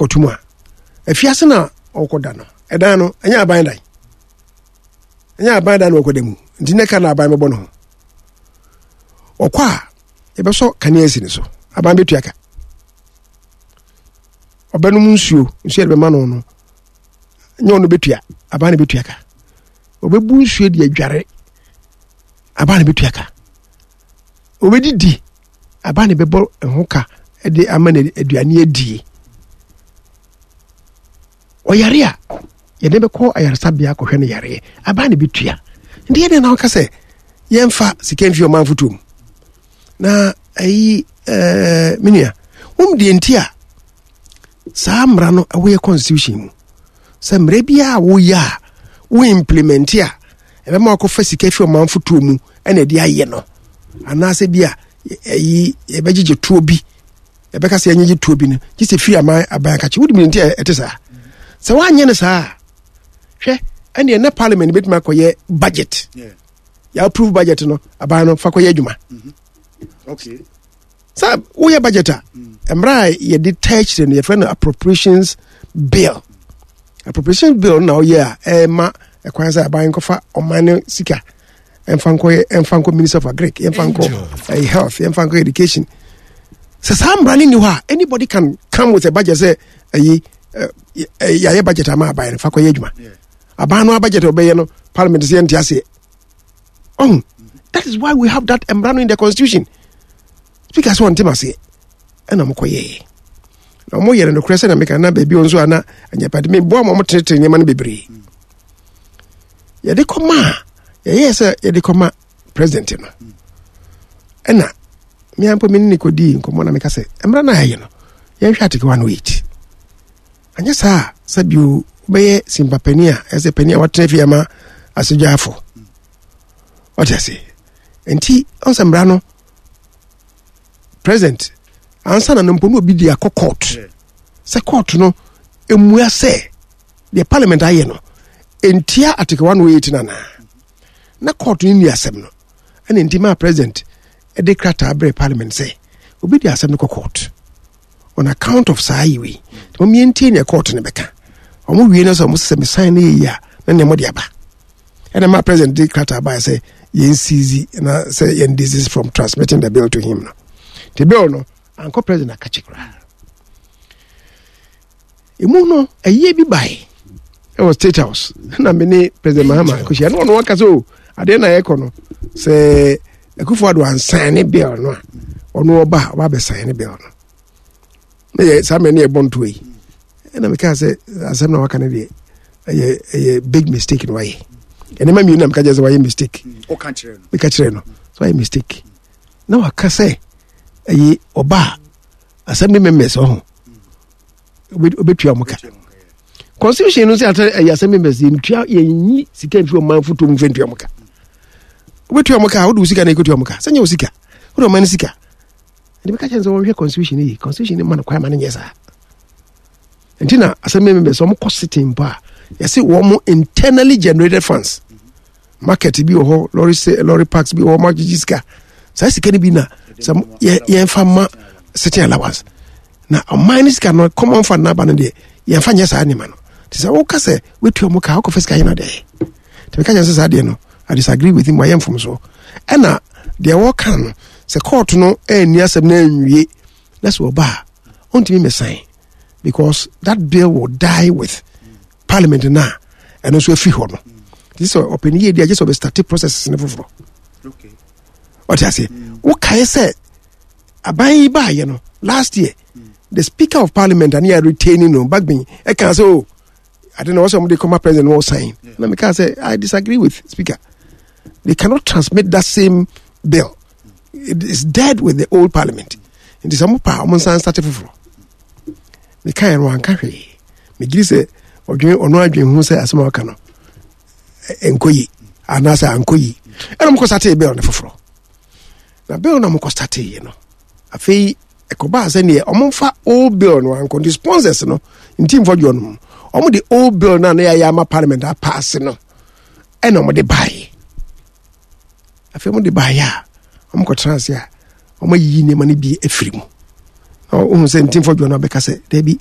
Ɛkɔto mu a, afiase na ɔkɔda no. Ɛdan no, ɛnyɛ aban dan. Ɛnyɛ aban dan na ɔkɔda mu. Nti ne ka na aban bɛbɔ no ho. Ɔkɔ a, yɛbɛsɔ kanea asi ne so. Aban bɛtua ka. Ɔbɛnom nsuo, nsuo yɛde bɛma no no, nyɛ ɔno bɛtua, aban na bɛtua ka. Ɔbɛbu nsuo de adware, aban na bɛtua ka. Ɔbɛdidi, aban na bɛbɔ ho ka de ama no aduane adie. Ɔyare a, yɛde bɛkɔ ayaresabea akɔhwɛ no yareɛ, aban na bɛtua. Nti yɛdeɛ na woka sɛ yɛmfa sika mfi ɔman fotoɔ mu. Na ayi ɛɛ me nua, wɔn deɛ nti a saa mmara no ɛwɔ yɛ constitution mu sɛ mmara biara a woyɛ a wo implement a ɛbɛma wakɔfa sika fi ɔman fotoɔ mu ɛna ɛde ayɛ no anaasɛ bi a ɛyi yɛbɛgyegye toɔ bi ɛbɛka sɛ yɛnyegye toɔ bi no gye sɛ firi aman aban akakye wode mi nti a ɛte saa sɛ woanyɛ no saa hwɛ ɛne ɛnɛ parliament bɛtumi akɔyɛ budget yɛ approve budget no aban no fa kɔyɛ adwuma mm-hmm. Sɛ woyɛ budget a, mmerɛ a yɛde taa akyire no yɛfrɛ no appropriations bill. Appropriations bill na woyɛ a ɛma ɛkwan sɛ aban nkɔfa ɔman no sika ɛmfa nkɔ ɛmfa nkɔ minister of agric, yɛmfa nkɔ eh, health, yɛmfa nkɔ education. Sɛ saa mmara no nni hɔ a, anybody can come with a budget sɛ ɛyi eh, eh, yɛayɛ budget ama aban no fa kɔyɛ adwuma. Aban no budget a ɔbɛyɛ no parliament sɛ yɛnte aseɛ. Oh, that is why we have that mmara no in the constitution. Speaker sɛ ɔnte maseɛ ɛna ɔmo kɔyɛɛ na ɔmo yɛrɛ nokorɛ sɛ na meka na baabi nso a na anyapade meboa ma ɔmo tenetene nneɛma no bebree. Yɛde kɔma a yɛyɛɛ sɛ yɛde kɔma president no ɛna mmea mpo me ne ne kɔdii nkɔmmɔ na meka sɛ mmara no a yɛyɛ no yɛnhwɛ article 108. Anyɛ saa a, sɛ bio wobɛyɛ simpa panin a ɛsɛ panin a watena fie ama asogyaafo. Ɔte ase. Nti ɔn sɛ mmara no president ansa na no mpo na obi di akɔ court sɛ court no emua sɛ deɛ parliament ayɛ no ntia article 108 no anaa na court no nni asɛm no ɛna nti maa president de krataa brɛ parliament sɛ obi de asɛm no kɔ court on account of saa yi wei nti wɔn yɛntie nea court no bɛka. Wɔn wie no sɛ wɔn sɛ mesan no yɛ yi a na nea wɔde aba ɛna ma president de krataa baa sɛ yɛn seize na sɛ yɛn desist from transmitting the bill to him no. The bill no ankɔ president akakye koraa. Emu no ɛyie bi bae ɛwɔ state house na me ne president Mahama kɔhyia na ɔno aka sɛ o adeɛ na yɛkɔ no sɛ Akufo Addo ansan ne bill no a ɔno ɔba a ɔba abɛsan ne bill no na yɛ saa mmerɛ ne yɛbɔ ntoa yi ɛna mekaa sɛ asɛm na waka no deɛ ɛyɛ ɛyɛ big mistake na wayɛ ɛnɛma mmienu na meka kyerɛ sɛ wayɛ mistake. Meka kyerɛ no sɛ wayɛ mistake na waka sɛ ɛyɛ ɔba a assembly members ɔho obɛtua ɔmo ka. Constitution no sɛ atɛ ɛyɛ assembly members yɛntua yɛnyi sika mfi ɔman foto mu mfɛ ntua ɔmo ka. Wobɛtua ɔmo ka a wode wo sika na ɛkɔtua ɔmo ka sɛ nyɛ wo sika wode ɔman no sika. Ɛde bɛka kyerɛ sɛ wɔnhwɛ constitution no yi. Constitution no ma no kwan ma no nyɛ saa. Nti na assembly members ɔmo kɔ sitting mpo a yɛse wɔn internally generated funds market bi wɔ hɔ, lorry se lorry parks bi wɔ hɔ, ɔmo agyegye sika saa sika no bi na sɛ yɛmfa ma sitting allowance na ɔman no sika no common fund n'aba no deɛ yɛmfa nyɛ saa nneɛma no. Nti sɛ woka sɛ woatua ɔmo ka wokɔfa sika yɛ no deɛ nti meka kyerɛ sɛ saa deɛ no I disagree with him, wayɛ mfomsoɔ. Ɛna deɛ wɔka no sɛ court no anni asɛm no anwie na sɛ ɔba a ɔntumi mmɛsan because that bill will die with parliament no a ɛno nso afiri hɔ no. Nti sɛ ɔpɛni yɛ di agye sɛ ɔbɛstarte processes no foforɔ. Ɔte aseɛ. Wokae sɛ aban yi baayɛ no last year the speaker of parliament ane yɛ retaining no Bagbin ɛka sɛ o ade na wɔsɛ wɔde kɔma president no wɔsan na meka sɛ I disagree with speaker. They cannot transmit that same bill. It is dead with the old parliament. Nti sɛ mo pa ɔmo nsan starte foforɔ. Meka yɛ no wanka hwee. Megye sɛ ɔdwen ɔno adwen ho sɛ asɛm a ɔka no nkɔ yi anaasɛ ankɔ yi. Ɛna ɔmo kɔ starte bill no foforɔ. Na bill na ɔmo kɔ starte yi no afei ɛkɔbaa sɛ neɛ ɔmo mfa old bill no ankɔ nti sponsors no nti mfɔ dwoɔ no mu ɔmo de old bill no a na yɛayɛ ama parliament apaase no ɛna ɔmo de baeɛ. Afei ɔmo de baeɛ a ɔmo kɔtena ase a ɔmo ayiyi nneɛma no bi afiri mu na ɔhu sɛ nti mfɔ dwoɔ no abɛka sɛ daabi.